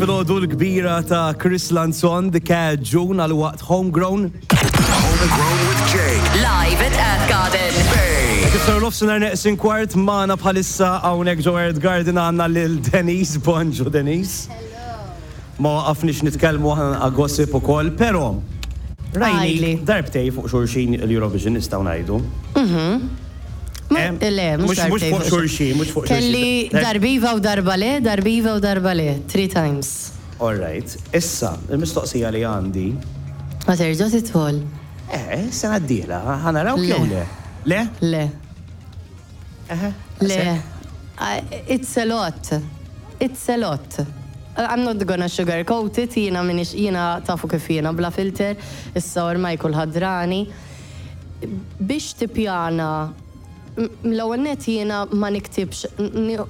Filgħodu l-kbira ta' Chris Lanzon, The Cat June għal waqt Homegrown. Homegrown with Jake. Live at Earth Garden. Bay. Kif saru nofsinhar neqsin kwart magħna bħalissa hawnhekk ġo Earth Garden għandna lil Denise. Bonġu Denise. Ma waqafniex nitkellmu aħna naqa' gossip ukoll, però rajni darbtej fuq xulxin l-Eurovision nistgħu ngħidu. Le, mhux Mhux fuq xulxin, mhux fuq xulxin. Kelli darbiva u darba le, darbiva u darba le, three times. All right. Issa, il-mistoqsija li għandi. Ma terġa' tidħol. Eh, sena d-dieħla, ħa narawk jew le? Le? Le. Le. It's a lot. It's a lot. I'm not gonna sugarcoat it, jiena minix, jiena tafu kif jiena bla filter, issa ormai kulħadd drani. Biex tippjana, l-ewwel nett jiena ma niktibx,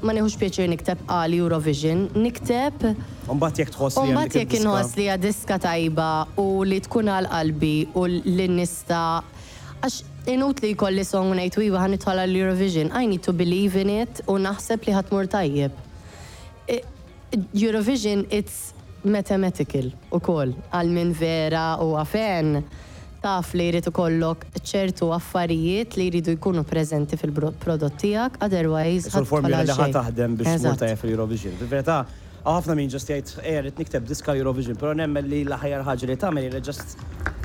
ma nieħux pjaċir nikteb għal Eurovision, nikteb. U mbagħad jekk tħoss li hemm dik U mbagħad jekk inħoss li hija diska tajba u li tkun għal qalbi u li nista' għax inutli jkolli song u ngħid iva ħa nidħol għal Eurovision, I need to believe in it u naħseb li ħa tmur tajjeb. Eurovision it's mathematical ukoll għal min vera huwa fan taf li jrid ikollok ċertu affarijiet li jridu jkunu preżenti fil-prodott tiegħek otherwise Qisu ħa tidħol l-formula għal li ħa xejn. taħdem biex tmur Eżatt. tajjeb fil-Eurovision. Fil-verità hawn ħafna min just jgħid ejja rrid nikteb diska Eurovision, però nemmen li l-aħjar ħaġa li tagħmel hi li just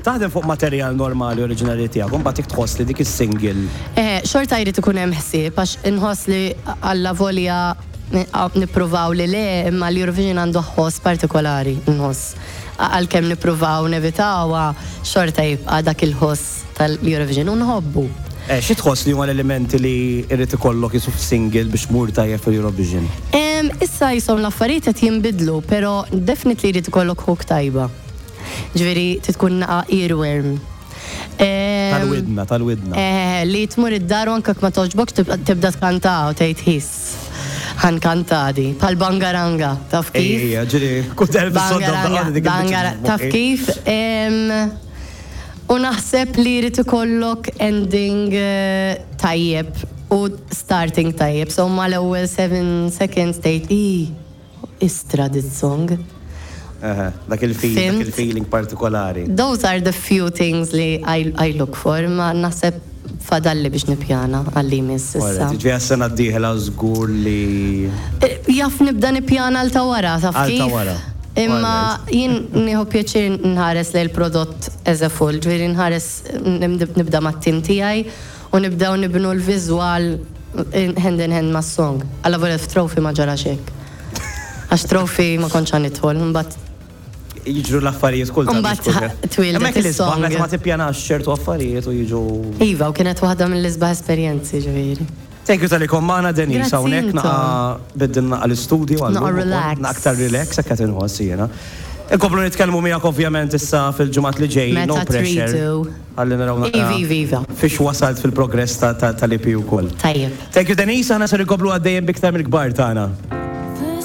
taħdem fuq materjal normali oriġinali tiegħek u mbagħad jekk tħoss li dik is-single Eħe, xorta jrid ikun hemm ħsieb għax inħoss li allavolja nippruvaw li le, imma l-Eurovision għandu ħoss partikolari, nħoss. Għalkemm nippruvaw nevitawha, xorta jibqa' dak il-ħoss tal-Eurovision u nħobbu. Eh, xi tħoss li huma l-elementi li jrid ikollok qisu f'single biex tmur tajjeb fil-Eurovision? Issa qishom l-affarijiet qed jinbidlu, però definitely jrid ikollok hook tajba. Ġifieri trid tkun naqa' earworm. Tal-widna, tal-widna. Eh, li tmur id-dar u anke ma toġbokx tibda tkanta u tgħid ħis. Ħankanta di. Bħal bangaranga, taf kif? Ejja, ġiri, kull darba Bangaranga, bangara, taf kif? U naħseb li jrid ikollok ending eh, tajjeb u starting tajjeb. So mal-ewwel 7 seconds tgħid i Istra this song. Eħe, dak il-feeling, dak il-feeling partikolari. Those are the few things li I, I look for, ma naħseb fadalli biex nippjana għalli jmiss issa. Ġifieri għas-sena d-dieħla żgur li. Eh, jaf nibda nippjana għal ta' wara, taf Għal ta' kif? wara. Imma jien nieħu pjaċir nħares lejn il-prodott as a full, ġifieri nħares nibda mat-tim tiegħi U nibdew nibnu l-viżwal hand in hand mas-song. Allavolja f'Trophy ma ġarax hekk. Għax Trophy ma kontx ħa nidħol, imbagħad. Jiġru l-affarijiet kultant. Imbagħad twieldet is-song. Meta ma tippjanax ċertu affarijiet u jiġu. Iva, u kienet waħda mill-isbaħ esperjenzi ġifieri. Thank you tal-li kont magħna Denise Grazzi hawnhekk intom. naqa' biddilna naqa' l-istudju għal Naqa' relax. Naqa' aktar relax hekk qed inħoss jiena. Inkomplu nitkellmu miegħek ovvjament issa fil-ġimgħat li ġejjin, no Meta pressure. tridu. Ħalli naraw naqra Iva, iva, iva. fiex wasalt fil-progress tal-EP ukoll. Tajjeb. Thank you Denise, aħna ser inkomplu għaddejjin b'iktar mill-kbar tagħna.